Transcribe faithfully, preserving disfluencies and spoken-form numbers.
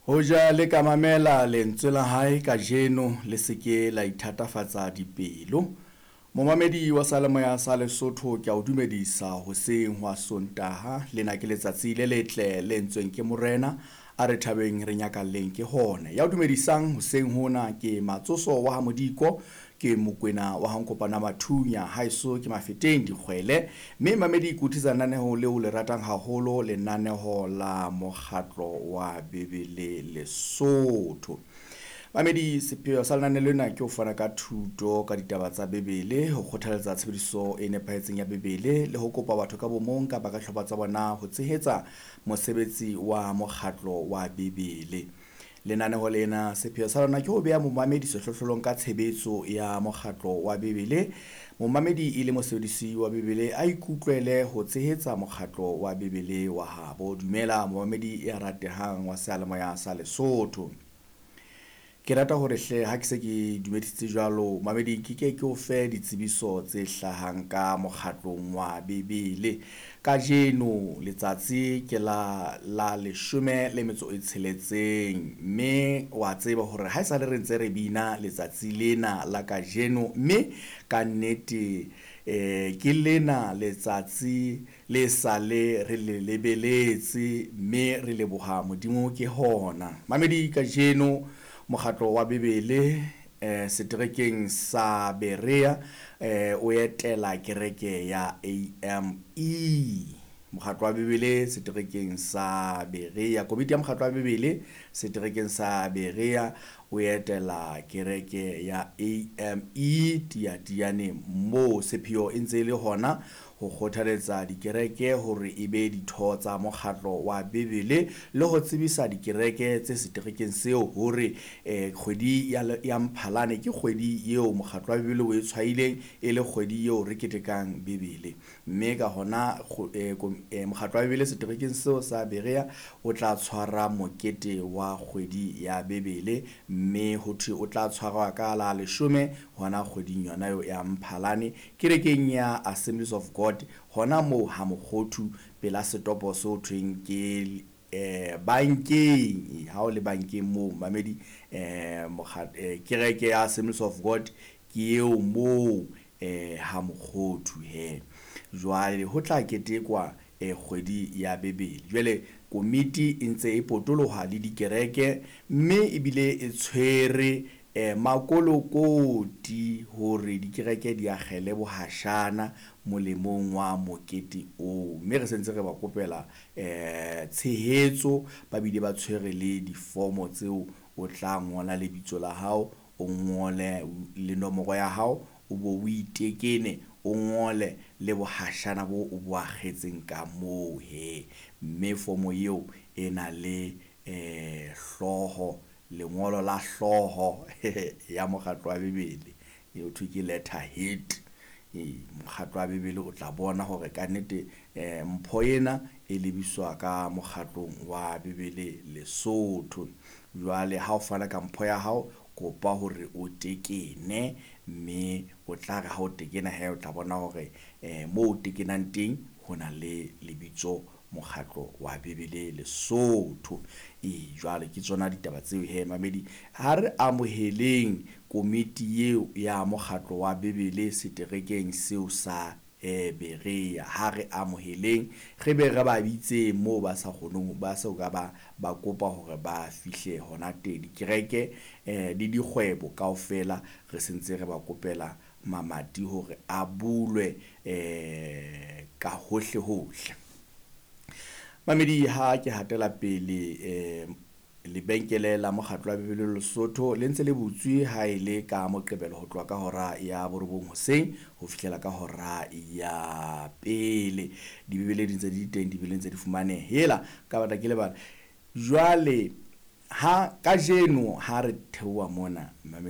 Hoja le ka mamela lentswe la hae kajeno, le se ke la ithatafatsa dipelo. Momamedi wa Seyalemoya sa Lesotho, ke a o dumedisa hoseng hwa Sontaha. Lena ke letsatsi le letle le entsweng ke Morena, a re thabeng re nyakalleng ke hona. Ya o dumedisang hoseng hona ke Matsoso wa ha Modiko, ke Mokwena wa ha Nkopana Mathunya, haeso ke Mafeteng Dikgwele. Mme mamedi ke o tlisa lenaneho leo le ratang haholo, lenaneho la mokgatlo wa Bibele Lesotho. Mamedi, sepheo sa lenaneo lena ke ho fana ka thuto ka ditaba tsa Bibele, ho kgothaletsa tshebediso e nepahetseng ya Bibele le ho kopa batho ka bomong kapa ka hlopha tsa bona ho tshehetsa mosebetsi wa mokgatlo wa Bibele. Lenaneho lena sepheo sa lona ke ho beha momamedi sehlohlolong ka tshebetso ya mokgatlo wa Bibele. Momamedi e le mosebedisi wa Bibele a ikutlwele ho tshehetsa mokgatlo wa Bibele wa habo. Dumela momamedi ya ratehang wa Seyalemoya sa Lesotho. Ke rata hore hle ha ke se ke dumedisitse jwalo mamedi, ke ke ke o fe ditsebiso tse hlahang ka mokgatlong wa Bibele. Kajeno letsatsi ke la la leshome le metso e tsheletseng, mme wa tseba hore ha esale re ntse re bina letsatsi lena la kajeno, mme ka nnete eh ke lena letsatsi le sale re le lebeletse, mme re leboha Modimo ke hona. Mamedi, kajeno mokgatlo wa Bibele eh seterekeng sa Berea eh o etela kereke ya A M E. Mokgatlo wa Bibele seterekeng sa Berea, komiti ya mokgatlo wa Bibele seterekeng sa Berea o etela kereke ya A M E Tiatiane, moo sepheo e ntse e le hona ho kgothaletsa dikereke hore e be ditho tsa mokgatlo wa Bibele le ho tsebisa dikereke tse seterekeng seo hore eh kgwedi ya, ya Mphalane ke kgwedi eo mokgatlo wa Bibele o e tshwaileng e le kgwedi eo re ketekang Bibele. Mme ka hona mokgatlo wa Bibele seterekeng seo sa Berea o tla tshwara mokete wa kgwedi ya Bibele, mme ho thwe o tla tshwarwa ka la leshome hona kgweding yona eo ya Mphalane kerekeng ya Assemblies of God hona moo ha Mokgothu pela setopo seo thweng ke eh bankeng. Ha o le bankeng moo mamedi, eh kereke ya Assemblies of God ke eo moo eh ha Mokgothu he. Jwale ho tla ketekwa eh kgwedi ya Bibele. Jwale komiti e ntse e potoloha le dikereke, mme ebile e tshwere eh makolokoti hore dikereke di akgele bohashana molemong wa mokete oo. Mme re sentse re ba kopela eh tshehetso, ba bile ba tshwere le difomo tseo o tla ngola lebitso la hao, o ngole le nomoro ya hao, o bo o itekene, o ngole le bohashana bo o bo akgetseng ka moo he. Mme fomo eo e na le eh hlooho, lengolo la hlooho ya mokgatlo wa Bibele, eo thwe ke letter head. E mokgatlo wa Bibele o tla bona hore ka nnete eh mpho ena e lebiswa ka mokgatlong wa Bibele Lesotho. Jwale ha o fana ka mpho ya hao, kopa hore o tekene, mme o tla re ha o tekena he o tla bona hore eh moo o tekenang teng ho na le lebitso mokgatlo wa Bibele Lesotho. E jwale ke tsona ditaba tseo he mamedi. Ha re amoheleng komiti eo ya mokgatlo wa Bibele seterekeng seo sa eh Berea. Ha re amoheleng, re be re ba bitse moo ba sa kgoneng, ba so ka ba ba kopa hore ba fihle hona teng. Dikereke eh le dikgwebo kaofela re sentse re ba kopela mamati hore a bulwe eh ka hohle hohle. Mamedi, ha ke hatela pele eh lebenkele la mokgatlo wa Bibele Lesotho le ntse le butswe ha e le ka Moqebelo ho tloha ka hora ya borobong hoseng ho fihlela ka hora ya pele. Dibibele di ntse di teng, dibibele ntse di fumaneha. Hela ka batla ke lebala. Jwale ha kajeno ha re theoha mona mamedi